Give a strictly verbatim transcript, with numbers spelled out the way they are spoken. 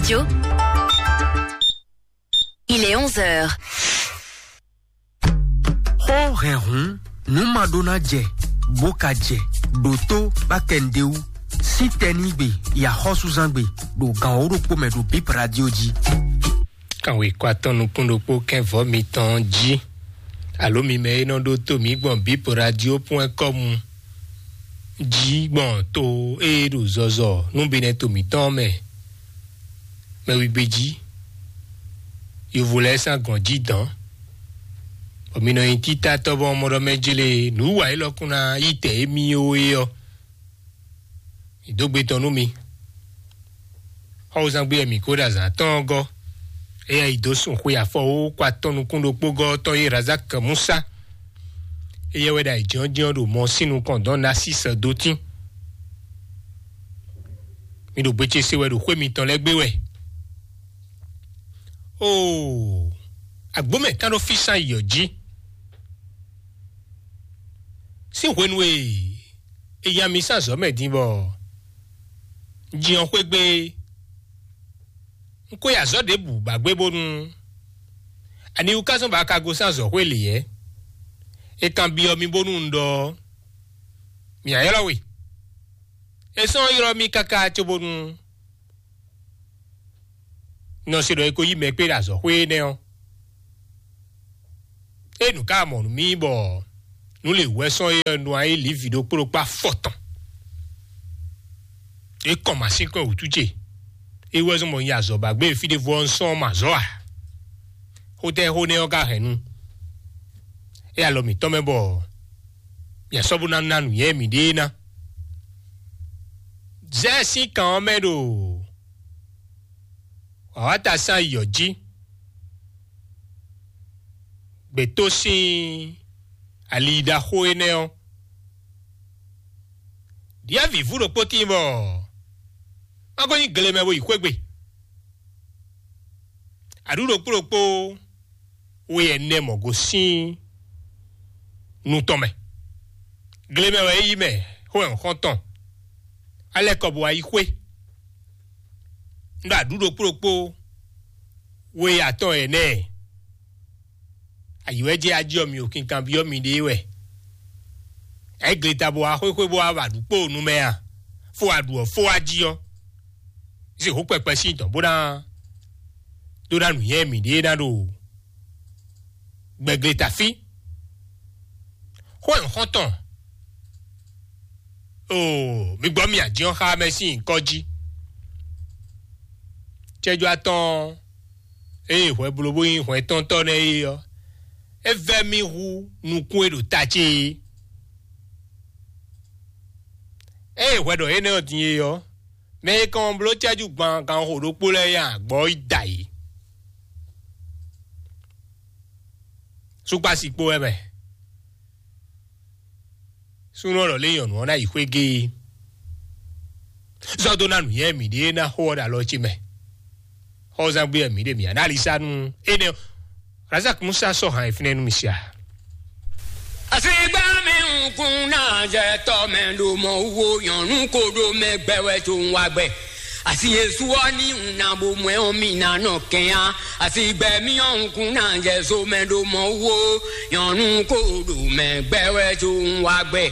Radio. Il est onze heures. Xó hɛn hǔn, nǔ ma ɖó ná jɛ, bó ka jɛ, ɖo tó bá kɛ nǔɖé wú. Sí tɛnígbe, yi axɔ́súzángbe, ɖo gan wǒ ɖokpó mɛ ɖo Bip Radio jí. Kanwekɔ atɔn nukún ɖokpó kɛ́n vɔ̌ mitɔn jí. Alo mi mɛ e nɔ ɖó tó mǐ gbɔn Bip Radio point com jí gbɔn to e ɖo zɔzɔ nú binɛ to mǐtɔn mɛ. Mɛ wigbe jí, yovo lɛ́ɛ sín agɔn jí dɔ̌n, bɔ mi nɔ nyi títátɔ́ bɔ mɔ ɖɔ mɛ jlé nǔ wa élɔ́ kún ná yí tɛ émí ó é ɔ́. Mǐ dó gbe tɔn nú mi. Xɔ́wúzán gbé wɛ mǐ ko ɖo azǎn tɔn ɔ́ gɔ́. Éyɛ́ yi dó sun xwe afɔwókwa tɔn nukún ɖokpó gɔ́ tɔn yi Razak Musa. Éyɛ́ wɛ ɖo ayǐjínjɔ́n ɖo mɔ sín nukɔn dɔn Nasísɛ dó tín. Mi ɖo gbe ce se wɛ ɖo xwé mitɔn lɛ́ɛ gbé wɛ. Oo, agbǒmɛ kan ɖo físán yɔ jí. Sín hwenu e è nya mi sín azɔ̌ mɛ din bɔ un jin ɔ́ xwé gbé, un ko yi azɔ̌ ɖěbǔ ba gbé bónú ani wú ká zɔ́n bɔ a ka gosín azɔ̌xwé lě yɛ́? È kanbyɔ́ mì bónú un ɖɔ ɔ́, mǐ ná ylɔ́ we. È sɔ́ ylɔ́ mì káká cóbónú nɔ se ɖɔ è ko yí mɛ kpé ɖo azɔ̌xwé énɛ́ ɔ́. É nǔ ká mɔ nú mì bɔ nǔ lě wɛ sɔ́ é ɔ́ nɔ ayí lǐvi ɖokpó ɖokpó afɔtɔn. É kɔn mǎsínkɔn wǔtu ce. É wɛ zɔ́n bɔ un yi azɔ̌ ba gbé fí ɖěvo ɔ́, un sɔ́ ɔ́ mɔ azɔ̌ ǎ. Xótɛ́ xó nɛ́ ɔ́ ka hɛn nu. É alɔ mǐtɔn mɛ bɔ mǐ sɔ́ bó ná ná nǔnywɛ́ mǐɖée ná. Zɛ́ sín kan ɔ́ mɛ ɖo wǎwáta sín ayǐ ɔ́ jí. Gbětó sín ali ɖaxó énɛ́ ɔ́, ɖyɔ̌vǐvú ɖokpó tíin bɔ má ko nyí gle mɛ bó yi xwé gbe. Aɖǔ ɖokpó ɖokpó we ɛnɛ mɔ gosín nu tɔn mɛ. Gle mɛ wɛ é yí mɛ xó ɛ̌nxɔ́ntɔn. Alɛkɔ bó wá yi xwé. Un ɖo aɖǔ ɖokpó ɖokpó we atɔn ɛnɛ. Ayǐwɛ́jɛ ají ɔ́ mi ɖo kinkanbyɔ́ miɖée wɛ. Ɛ gleta bó wá xwéxwé bó wá wa ɖu kpó nu mɛ a? Fó wa ɖu ɔ́, fó wa jí ɔ́, zǐn hǒ kpɛkpɛ sín dɔ̌n bó ná dó ná nǔnywɛ́ mǐɖée ná ɖo gbɛ gleta fí. Xó ɛ̌nxɔ́ntɔn. Oo, mi gbɔ mi ají ɔ́ xá mɛ sín nyǐkɔ jí. Cɛ́jú atɔn ée hwɛ blo bó nyí hwɛntɔ́ntɔ́ nɛ́ é ɔ́, é vɛ́ mì hú nukún e ɖo ta ce é. Ée hwɛ ɖɔ énɛ́ ɔ́ din é ɔ́, mɛ e kɔn bló cɛ́jú gban ganxixo ɖokpó lɛ́ɛ nyi agbɔ̌ yi da yě. Súkpási kpó wɛ mɛ. Súnnu ɔ́ lɔ lé nyɔ̌nu ɔ́ ná yi xwé géé. Zɔ́ dó ná nǔnywɛ́ mǐɖée ná xó ɔ́ ɖo alɔ ce mɛ. Xɔzán gbé wɛ mǐ ɖe mǐ ná alisá nú énɛ́ ɔ́. Razak Musa sɔ́ hǎn e fínɛ́ nú mi sia. Asigbá mi nkún náà jẹ tọ́ mɛ ɖo mɔ wo nyɔ̌nu ko ɖo mɛ gbɛ wɛ tó ń wá gbɛ. Asi Yesu ɔ́ ní un ná bo mɔ ɛ ɔ́, mi ná nɔ kɛn á. Asi gbɛ mi ɔ́ nkún náà jẹ so mɛ ɖo mɔ wo nyɔ̌nu ko ɖo mɛ gbɛ wɛ tó ń wá gbɛ.